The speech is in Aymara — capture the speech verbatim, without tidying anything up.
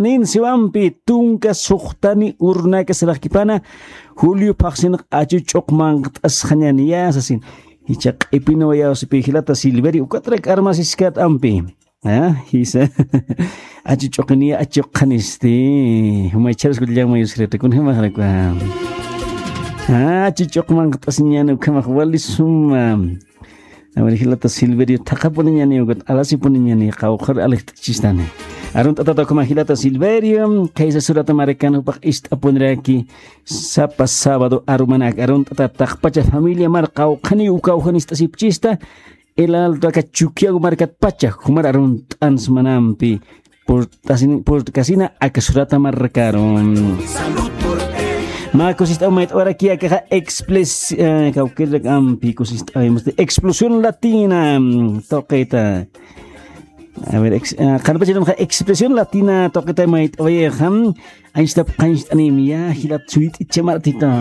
Nin siwampi tunka suxtani urnaka saraxkipana, Julio phaxsinx achu ch'uqmanqt'asxañani ya sasin. Icha q'ipinawayawsipi jilata Silverio, ukatrak armasiskat ampi. Ah, jisa. Achu ch'uqiniya achuqanisti. Jumay charaskullamayusirata kunjamaxrakwa. Ah, achu ch'uqmanqt'asiñani ukhamax wali suma. Awir jilata Silverio thaqapuniñani ukat alasipuniñani qawqhar alijt'achistani. Arunt'atata ukhama jilata Silverio, khaysa surata markan jupax ist'apuniraki sapa sábado arumanak arunt'ata taqpacha familia mar qawqhani ukawjanist'asipchista, el alto aka Chukiyawu markatpacha jumar arunt'an smanampi purt'asin-, purt'kasina aka surata markaru. Mä kusist'aw mayt'awaraki akaxa expres-, eh, kawkirrak ampi kusist'aw, este, explosión latina, mm, tuqita. A ver, ex-, ah, qanpachanxa expresión latina tuqita mayt'awayaxa, mm, anchitap qancht'anim ya jilat suyt'icha martita.